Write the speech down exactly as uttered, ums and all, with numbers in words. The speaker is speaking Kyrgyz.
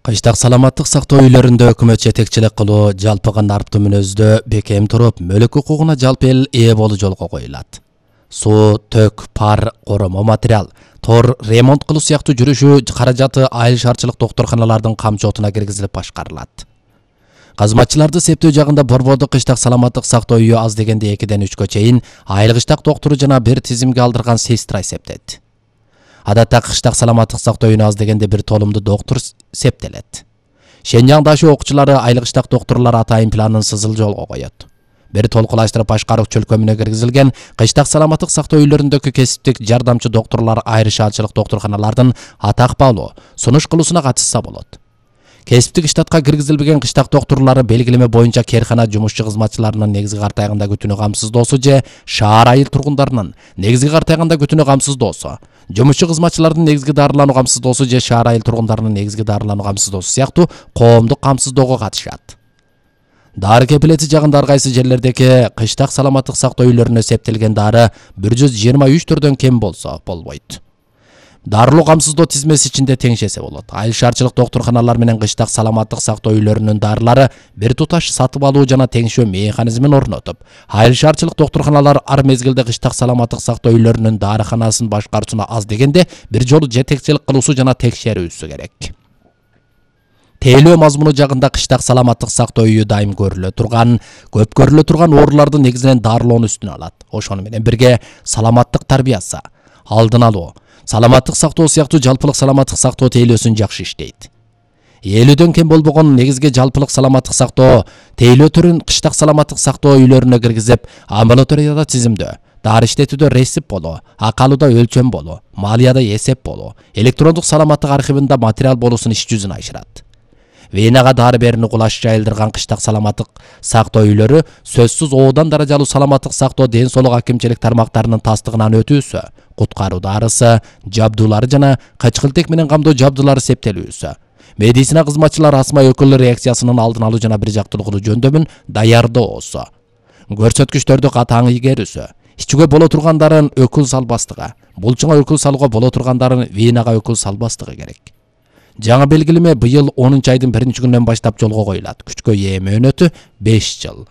Кыштак саламаттык сактоо үйлөрүндө өкмөт жетекчилик кылуу, жалпыга нарптуу мүнөздө бекем туруп, мөлк укугуна жалпы эл ээ болуу жолго коюлат. Суу, төк, пар, коромо материал, тор, ремонт кылуу сыяктуу жүрүшү каражаты айыл шаарчылык доктурканалардын камчотуна киргизилип башкарылат. Кызматчыларды септөө жагында Борбордук кыштак саламаттык сактоо үйү аз дегенде экиден үчкө чейин айыл кыштак доктуру жана бир тизимге алдырган сестра эсептейт. Адатта кыштак саламаттык сактоо үйүнө аз дегенде бир толумду доктур септелет. Шенжаң дашы окуучулары айыл кыштак доктурлар атайын планын сызыл жолго коет. Бир толкулаштырып башкаруу чөлкөмүнө киргизилген кыштак саламаттык сактоо үйлөрүндөгү кесиптик жардамчы доктурлар айыл шаарчылык доктурканалардын атак баалуу сунуш кылуусуна катышса болот. Кесиптик штатка киргизилбеген кыштак доктурлары белгилеме боюнча керкана жумушчу кызматчыларынын негизги картайганда күтүүнү камсыздоосу же шаар айыл тургундарынын негизги картайганда күтүүнү камсыздоосу, жумушчу кызматчылардын негизги дарылануу камсыздоосу же шаар айыл тургундарынын негизги дарылануу камсыздоосу сыяктуу коомдук камсыздоого катышат. Дары кепилети жагында ар кайсы жерлердеги кыштак саламаттык сактоо үйлөрүнө септелген дары бир жүз жыйырма үч түрдөн кем болсо болбойт. Дарылуу камсыздоо тизмеси ичинде теңшесе болот. Айыл шаарчылык доктурканалар менен кыштак саламаттык сактоо үйлөрүнүн дарылары бир туташ сатып алуу жана теңшөө механизмин орнотуп, айыл шаарчылык доктурканалар ар мезгилде кыштак саламаттык сактоо үйлөрүнүн дарыканасын башкаруусуна аз дегенде бир жолу жетекчилик кылуусу жана текшерүүсү керек. Тейлөө мазмуну жагында кыштак саламаттык сактоо үйү дайым көрүлө турган, көп көрүлө турган ооруларды негизинен дарылоону үстүнө алат. Ошону менен бирге саламаттык тарбиясы, алдын алуу, саламаттык сактоо сыяктуу жалпылык саламаттык сактоо тейлөөсүн жакшы иштейт. элүүдөн кем болбогон негизги жалпылык саламаттык сактоо тейлөө түрүн кыштак саламаттык сактоо үйлөрүнө киргизип, амбулаторияда тизимдөө, дары иштетүүдө рецепт болуу, акалууда өлчөм болуу, малыяда эсеп болуу, электрондук саламаттык архивинде материал болуусун иш жүзүнө ашырат. Венага дары берүүнү кулаш жайылдырган кыштак саламаттык сактоо үйлөрү сөзсүз оодан даражалуу саламаттык сактоо ден соолук акимчилик тармактарынын тастыгынан өтүүсү, куткаруу дарысы, жабдуулары жана кычкылтек менен камдоо жабдуулары септелүүсү, медицина кызматчылары астма өкүл реакциясынын алдын алуу жана бир жактуулугун жөндөмүн даярдоосу, көрсөткүчтөрдү катаң игерүүсү, ичүүгө боло тургандарын өкүл салбастыгы, булчуңа өкүл салууга боло тургандарын венага өкүл салбастыгы керек. Жаңы белгилеме быйыл онунчу айдын биринчи күнүнөн баштап жолго коюлат. Күчкө ээ мөөнөтү беш жыл.